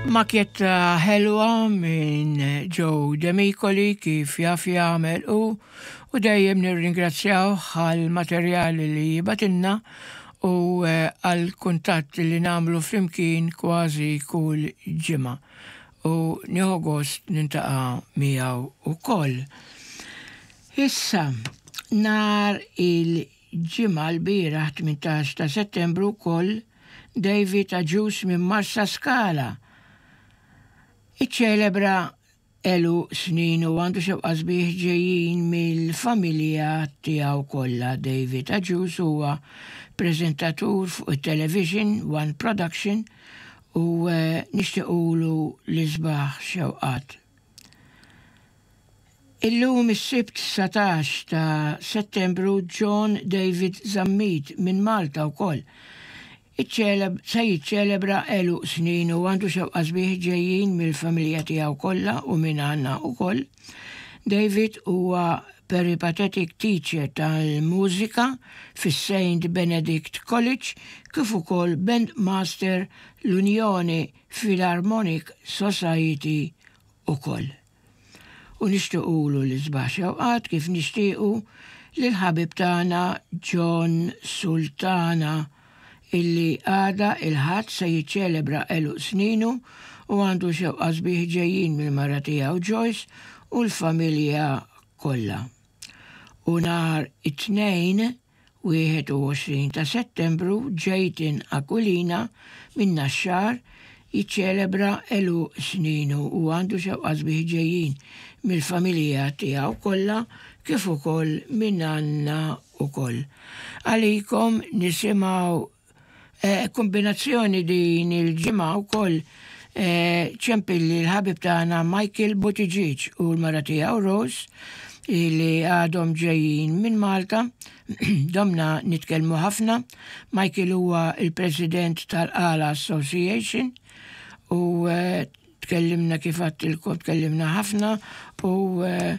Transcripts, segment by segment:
Makjetta ħelwa minn Joe Demicoli kif jaf jagħmel hu u dejjem nirringrazzjawh għal materjali li jibatilna u eh, għal kuntatt li nagħmlu flimkien kważi kull ġimgħa u nieħu gost nintaqa' miegħu wkoll. Issa, nhar il-Ġimgħa lbieraħ 18 ta' Settembru wkoll David Agius minn Marsaskala iċċelebra għeluq sninu u għandu xewqa sbieħ ġejjin mill-familja tiegħu kollha. David Agius huwa preżentatur fuq it-television One Production u nixtiequlu l-isbaħ xewqat. Illum is-Sibt 19 ta' Settembru John David Zammit minn Malta wkoll iċċeleb se jiċċelebra għeluq snin u għandu xewqa sbieħ ġejjin mill-familja tiegħu kollha u minn għandna wkoll. David huwa peripatetic teacher tal-mużika fis-Saint Benedict College kif ukoll bandmaster l-Unjoni Philharmonic Society ukoll. U nixtiequlu l-isbaħ xewqat kif nixtiequ lill-ħabib tagħna John Sultana illi għada il-Ħadd se jiċċelebra għeluq sninu u għandu xewqa sbieħ ġejjin mill-mara tiegħu Joyce u l-familja kollha. U nhar it-Tnejn 21 ta' Settembru Jayton Aquilina min-Naxxar jiċċelebra għeluq sninu u għandu xewqa sbieħ ġejjin mill-familja tiegħu kollha kif ukoll minn għandna ukoll. Għalikom nisimgħu Kombinazzjoni din il-ġimgħa wkoll ċempilli l-ħabib tagħna Michael Buttigieg u l-mara tiegħu Rose li għadhom ġejjin minn Malta. Domna nitkellmu ħafna. Michael huwa il-President tal-Qala Association u eh, tkellimna kif għattilkom tkellimna ħafna u eh,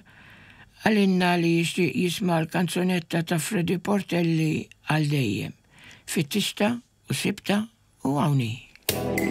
għalinna li jixtieq jisma' l-kanzunetta ta' Freddy Portelli għal dejjem. Fittixtha u sibtha u hawn hi.